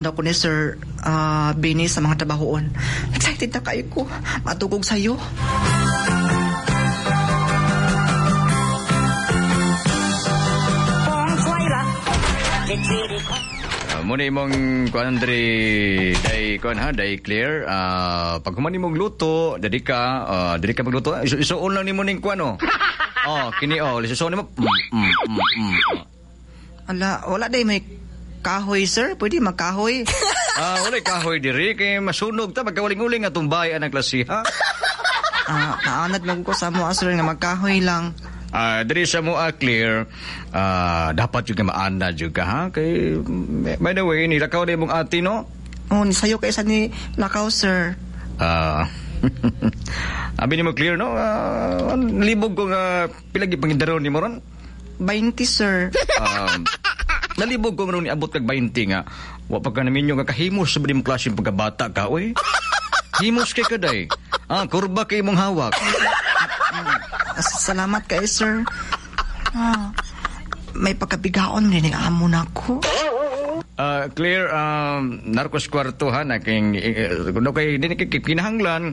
Daw ko ni Sir Benny sa mga trabahoon. Excited na kayo ko. Matugog sa'yo. Muna imong kuan diri day kuan ha day clear, pag human imong luto diri ka magluto, isuon lang nimo ning kuan oh. Oh, kini oh, isuon nimo. Ala, wala day may kahoy, sir. Pwede magkahoy. Wala kahoy diri kay masunog ta pagkawaling-uling atong bahay ang klasiha. Naanad man ko sa mo, sir, nga magkahoy lang. Diri sa mo clear, dapat jud ka maana jud ka ha kay by the way nilakaw na imong ate no. Oh, ni sayo kay sa ni lakaw, sir. Abi nimo clear no, libog ko nga pila gyud pangindaron nimo ron? 20, sir. Nalibog ko nga niabot kag 20 nga wa pa ka naminyo nga kahimos sa imong klase pagkabata ka oy. Himos kay kaday. Kurba kay imong hawak. Salamat kay sir. May pagkabigaon rin ang amo na ko. Clear, narcos kwarto ha, naking, kuno kay din kinahanglan,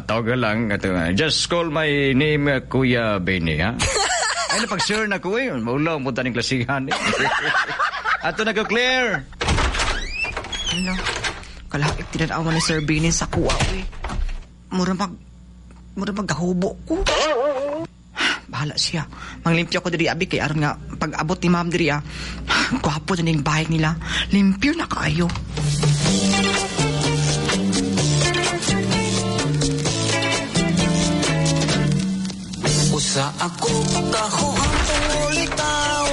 tawag lang, ato, just call my name, Kuya Benny, ha? Ay, napag-sir na ko eh. Maulaw, punta ng klasihan eh. Ato na ko, Claire. Ano? Kalahit tinanawa ni Sir Benny sa kuwa, eh. Mura magkahubo ko. Bahala siya. Manglimpyo ko diri abi kay aron nga pag abot ni ma'am diri ah. Gwapo na ning bahay nila. Limpyo na kaayo. Usa ako kahuang ulitaw.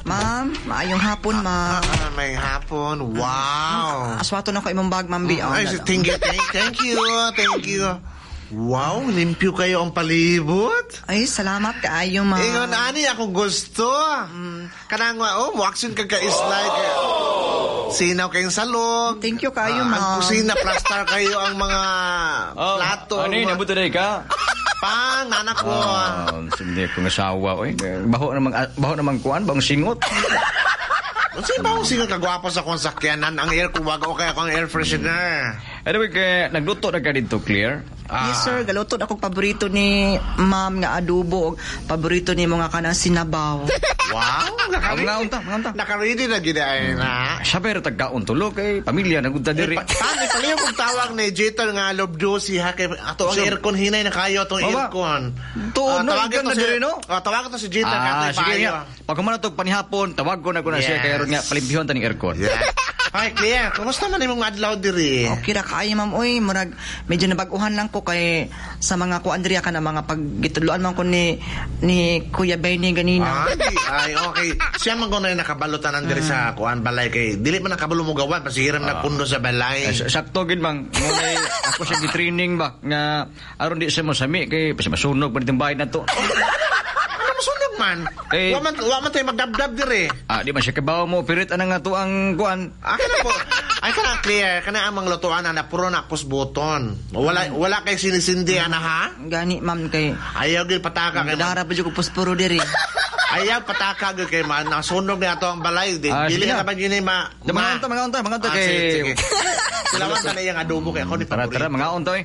Ma'am, maayong hapon, ma'am. May hapon. Wow. Aswato na ko imong bag, ma'am. Ay, thank you, thank you, thank you. Wow, limpyo kayo ang palibot. Ay, salamat kaayo, ma'am. Ingon ani akong gusto. Kanang oh, mo-action ka ka-slide. Sinaw kayong salog. Thank you kaayo, ma'am. Ang kusina, plaster kayo ang mga plato. Ano yun, nabot na ka? Pang, nanak ko. Hindi ko asawa. Oy. Baho namang kuan, bang singot. Sino ba akong singot kagwapo sa akong sakyanan? Ang air kuwaga o kaya akong air freshener. Anyway, kaya nagluto na ka dito, Claire? Yes, sir. Galuto na akong paborito ni ma'am nga adobo. Paborito ni mga kanang sinabaw. Wow! Mga unta. Naka-ready na ginaay na. Sabi rin tagkaon tulo kay pamilya nagunta diri. Paano pala yung tawag ni Jeter nga lobdosi ha? Kay ato ang aircon hinay na kayo atong aircon. Tuon no, ikan na diri no? Tawagin to si Jeter nga sige nga. Pag kumana to panihapon, tawag ko na ko na siya kay aron nga palimpihon ta ning aircon. Hi, Claire. Kumusta man imong adlaw diri? Okay ra kaayo, ma'am. Uy, murag medyo nabaguhan lang ko kay sa mga ko Andrea ka na mga paggitudloan man ko ni Kuya Benny ganina. Ay, okay. Siya man ko na nakabalutan diri sa kuan balay kay dili man nakabalo mo gawan pasihiram na pundo sa balay. Sakto gid mang. Ngunay ako siya gi-training ba nga aron di siya mosami kay masunog pa ditong bahay na to. Masunog man. Eh, wa man tayo magdabdab dire. Di man siya kabaw mo pirit anang nga to ang kuan. Kana po. Ay kana clear kana ang mga lutuan na puro na kusbuton. Wala kay sinisindi ana ha? Gani ma'am kay ayaw gyud pataka kay dara pa jud ko puspuro diri. Ayaw pataka gyud kay man nasunog na ato ang balay. Dili na ba gyud ma. Mga unta kay. Silawan ta na iyang adobo kay ako ni paborito. Tara, mga unta eh.